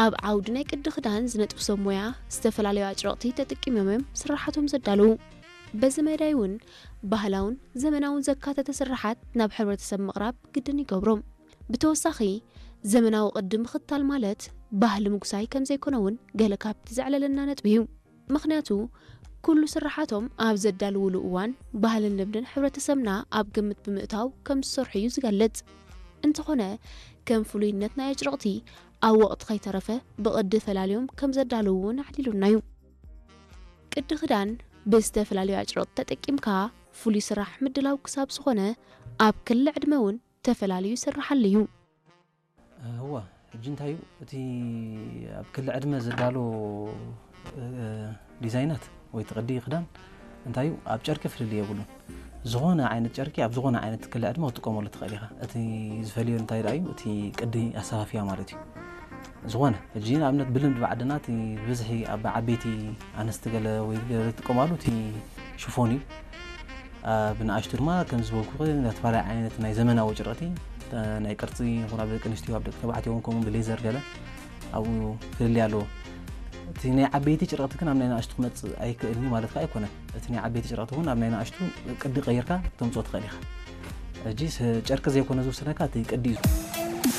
ኣብ ዓውዲ ናይ ቅዲ ክዳን ዝነጥፉ ሰብ ሞያ ዝተፈላለዩ ኣጭረቕቲ ተጠቂሞም እዮም ስራሓቶም ዘዳለዉ። በዚ መዳይ እውን ባህላውን ዘመናውን ዘካተተ ስራሓት ናብ ሕብረተሰብ ምቕራብ ግድን ይገብሮም። ብተወሳኺ ዘመናዊ ቅዲ ምኽታል ማለት ባህሊ ምጉሳይ ከም ዘይኮነ እውን ገለ ካብቲ ዘዕለለና ነጥቢ እዩ። ምኽንያቱ ኩሉ ስራሓቶም ኣብ ዘዳልውሉ እዋን ባህልን ልምድን ሕብረተሰብና ኣብ ግምት ብምእታው ከም ዝሰርሑ እዩ ዝገልጽ። እንተኾነ ከም ፍሉይነት ናይ ኣጭረቕቲ ኣብ ወቕቲ ከይተረፈ ብቕዲ ፈላልዮም ከም ዘዳልዉ እውን ኣዕሊሉና እዩ። ቅዲ ክዳን ብዝተፈላለዩ ኣጭረቕቲ ተጠቂምካ ፍሉይ ስራሕ ምድላው ክሳብ ዝኾነ ኣብ ክሊ ዕድመ እውን ተፈላልዩ ይስርሓሉ እዩ። እዋ ሕጂ እንታይ እዩ እቲ ኣብ ክሊ ዕድመ ዘዳሎ ዲዛይናት ወይ ትቕዲ ክዳን እንታይ እዩ ኣብ ጨርቂ ፍልልይ የብሉን። ዝኾነ ዓይነት ጨርቂ ኣብ ዝኾነ ዓይነት ክሊ ዕድመ ክትጥቀመሉ ትኽእል ኢኻ። እቲ ዝፈልዮ እንታይ ደኣ እዩ እቲ ቅዲ ኣሰፋፍያ ማለት እዩ። ዝኾነ ሕጂ ንኣብነት ብልምዲ ብዓድና እቲ ብዝሒ ኣብ ዓበይቲ ኣነስቲ ገለ ወይ ገለ ዝጥቀማሉ እቲ ሽፎን እዩ። ብንኣሽቱ ድማ ከም ዝበልኩ ዝተፈላለየ ዓይነት ናይ ዘመናዊ ጭርቕቲ ናይ ቅርፂ ይኹን ኣብ ደቂ ኣንስትዮ ኣብ ደቂ ተባዕትዮ እውን ከምኡ ብሌዘር ገለ ኣብኡ ፍልልይ ኣለዎ። እቲ ናይ ዓበይቲ ጭርቕቲ ግን ኣብ ናይ ንኣሽቱ ክመፅእ ኣይክእልኒ ማለት ከዓ ኣይኮነን። እቲ ናይ ዓበይቲ ጭርቕቲ እውን ኣብ ናይ ንኣሽቱ ቅዲ ቀይርካ ተምፅኦ ትኽእል ኢኻ። ሕጂ ጨርቂ ዘይኮነ ዝውስነካ እቲ ቅዲ እዩ።